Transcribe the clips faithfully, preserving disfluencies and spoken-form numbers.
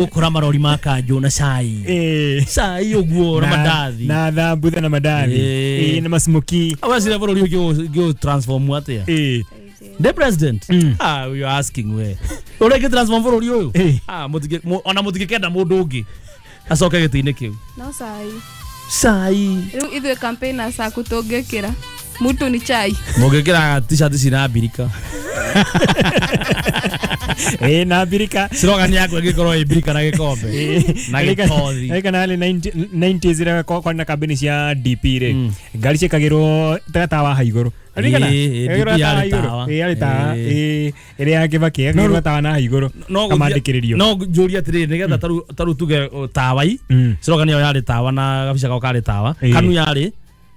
Gukora marori ma kanjũ na cai. Eh. Cai ũguo na mandathi. Na thambutha na mandathi. Eh, na masmoki. Awacire bũrũri ũngĩ transform atĩa? Eh. The president? Mm. Ah, you are asking we. Ũrĩa ingĩ transform bũrũri ũyũ? Eh. Ah, mũtingĩ ona mũtingĩkenda mũndũ ũngĩ acoke gĩtĩ-inĩ kĩu. No cai. Cai. Rĩu ithuĩ campaigners aku tũngĩkĩra mutu ni chai. Mũngĩkĩra t-shirt cina mbirika. Eh, na mbirika. Slogan yaku ĩngĩkorwo ĩ mbirika na gĩkombe. Na gĩkothi. Ĩka na nineties rĩ kwarĩ na kambĩni cia D P rĩ. Ngari ciĩkagĩrwo ta tawa ha igũrũ. Ririkana? D P yarĩ tawa. Ĩ yarĩ tawa. Ĩ ĩrĩa ya Kibaki ĩkagĩrwo tawa na ha igũrũ. Kamandĩkĩrĩrio. No njũrie atĩrĩrĩ nĩgetha tarĩu tuge tawai. Slogan ĩyo yarĩ tawa na gabica gao karĩ tawa. Kanu yarĩ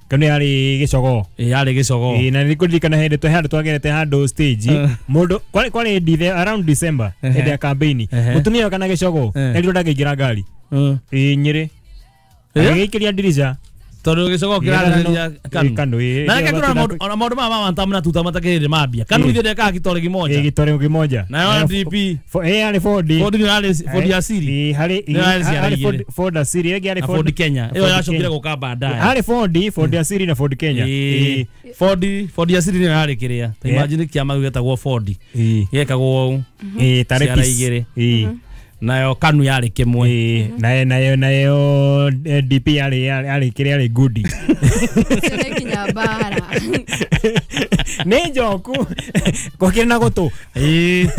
Kanu yarĩ gĩcogoo. Ĩ yarĩ gĩcogoo. Ĩ na nĩkũririkana hĩndĩ twa handũ twagerete handũ stage mũndũ kwarĩ kwarĩ around December hĩndĩ ya campaign mũtumia kana gĩcogoo erirwo ndangĩingĩra ngari. Ĩ Nyĩrĩ. Agĩikĩria ndirica. Tondũ gĩcogoo kĩrarĩrĩria kanu. Kanu ĩ. Na reke tũrore maũndũ maũndũ maya ma wantam na tuta matakĩrĩ mambia. Kanu ithuĩ ndekaga gĩtore kĩmoja. Ĩ gĩtore kĩmoja. Nayo D P. Ĩ yarĩ Ford. Ford nĩ yarĩ Ford ya Siri. Ĩ harĩ harĩ Ford ya Siri ĩngĩ yarĩ Ford Kenya. Ĩyo yacokire gũka baadaye. Harĩ Ford, Ford ya Siri na Ford Kenya. Ĩ Ford Ford ya Siri nĩyo yarĩ kĩrĩa. Ta imagine kĩama gĩu gĩtagwo Ford. Gĩekagwo ũũ. Ĩ tarĩ piece. Ĩ nayo kanu yarĩ kĩmwe. Nayo nayo nayo D P yarĩ yarĩ kĩrĩa yarĩ goodie. Nĩ kinya mbara. Nĩ njoku. Gwakĩrĩ na gũtũ. Ĩ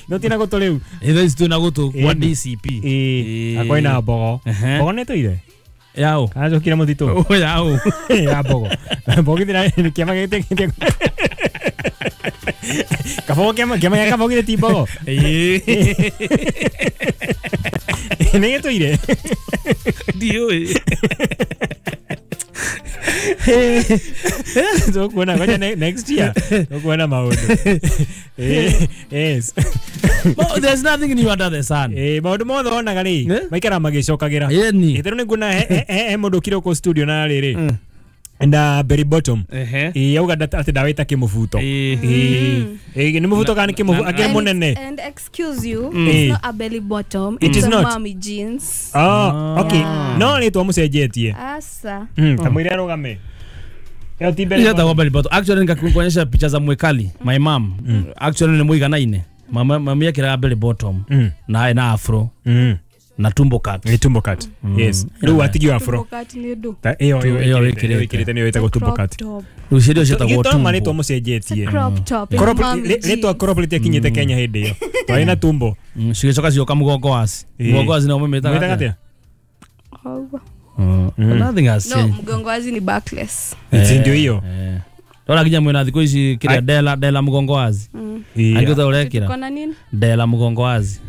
no ti na gũtũ rĩu. Ĩ thaa ici twĩna gũtũ kwa D C P. Ĩ akwĩ na mbogo. Mbogo nĩ tũire? Yao. Acokire mũtitũ. O yao. Ya mbogo. Mbogo githĩ kĩama gĩtĩ Kabogo kĩama kĩama gĩa Kabogo githĩ ti mbogo. Ĩ nĩ gĩtũire? Ndiũĩ. Tũkuona ngoja next year. Tũkuona maũndũ. Yes. Well, there's nothing new under the sun. Eh, maũndũ mothe wonaga rĩ maikara magĩcokagĩra. Ĩtherũ nĩ nguona he mũndũ ũkire gũkũ studio na rĩrĩ na berry bottom. Ĩ auga atĩ ndawĩta kĩmũbuto. Ĩ nĩ mũbuto kana kĩmũbuto akĩrĩ mũnene. And excuse you, it's not a belly bottom, it is it's a not. Mommy jeans. Oh, okay. No rĩtwa mũcenjetie. Asa. Ta mwĩre arũgame. Ĩyo ti belly bottom. Belly bottom. Actually nikakuonyesha picha za mwekali, my mom. Actually ni muiganaine. Mama mama yake belly bottom na na afro. Na tumbo cut. Ni tumbo cut. Yes. Rĩu atigio afro. Tumbo cut nĩ ndũ. Ĩyo ĩyo ĩkĩrĩte nĩyo ĩtagwo tumbo cut. Rĩu ciĩrio ciĩtagwo tumbo. Marĩtwa mũcenjetie. Crop top. Crop rĩtwa crop rĩtiakinyĩte Kenya hĩndĩ ĩyo. Twarĩ na tumbo. Cigĩcoka cioka mũgongo waci. Mũgongo waci no mũmĩtaga atĩa? Nothing has No, mgongo wazi ni backless. Ndio hiyo. Ndora nginya mwena thikũ ici kĩrĩa dela dela mũgongo wazi. Angĩhota ũrekĩra. Kona nini? Dela mũgongo wazi.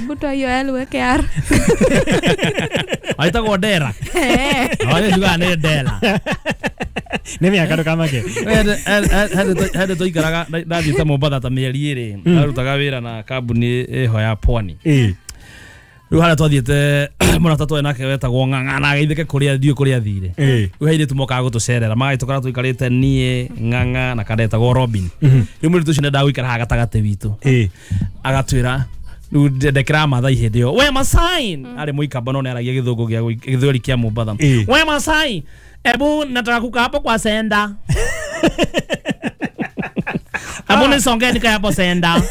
Buto hiyo L weke R. Aitagwo dera. Eh. Ayo nĩ dela. Nĩ mĩaka ndũkamake. Hende tũikaraga ndathiĩte Mombatha ta mĩeri ĩrĩ ndarutaga wĩra na kambuni ĩho ya Pwani. Rĩu harĩa twathiĩte mũrata twarĩ nake wetagwo Ng'ang'a na ageithĩke kũrĩa ndiũĩ kũrĩa athire. Rĩu he airĩtu mokaga gũtũcerera magagĩtũkora tũikarĩte niĩ Ng'ang'a na kandetagwo Robin. Rĩu mũirĩtu ũcio nĩendaga gũikara haha gatagatĩ witũ. Agatwĩra rĩu ndekĩraga Maathai hĩndĩ ĩyo we Masai arĩ mũikamba no nĩaragia gĩthũngũ gĩa gĩthweri kĩa Mombatha. We Masai ebu nataka kukaa hapo kwa senda. Hapo nisongee nikae hapo senda.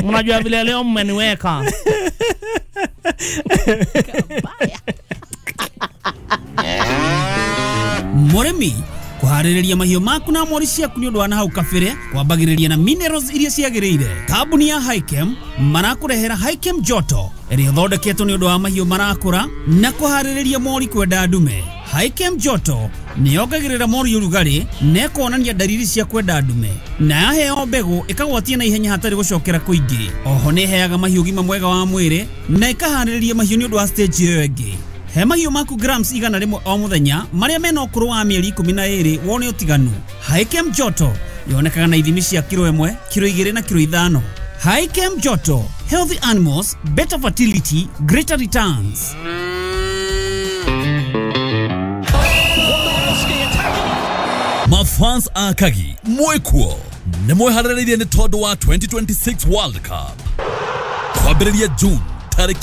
Mnajua vile leo mmeniweka. Mũrĩmi kũharĩrĩria mahiũ maku na mori ciaku nĩ ũndũ wa nahau kabere kwambagĩrĩria na minerals iria ciagĩrĩire. Kambuni ya Hikem marakũrehera Hikem Joto ĩrĩa ĩthondeketwo nĩ ũndũ wa mahiũ marakũra na kũharĩrĩria mori kwenda ndume. Hikem Joto nĩ yongagĩrĩra mori ũrugarĩ na ĩkonania ndariri cia kwenda ndume na yaheo mbegũ ĩkagwatia na ihenya hatarĩ gũcokera kũingĩ. Oho nĩ ĩheaga mahiũ ũgima mwega wa mwĩrĩ na ĩkaharĩrĩria mahiũ nĩ ũndũ wa stage ĩyo ĩngĩ. He mahiũ maku grams igana rĩmwe o mũthenya marĩa mena ũkũrũ wa mĩeri ikũmi na ĩrĩ wone ũtiganu. Hikem Joto yonekaga na ithimi cia kiro ĩmwe, kiro igĩrĩ na kiro ithano. Hikem Joto, healthy animals, better fertility, greater returns. Mafans akagi mwekuo nĩ mweharĩrĩirie nĩ tondũ wa twenty twenty-six World Cup kwambĩrĩria June Tarĩki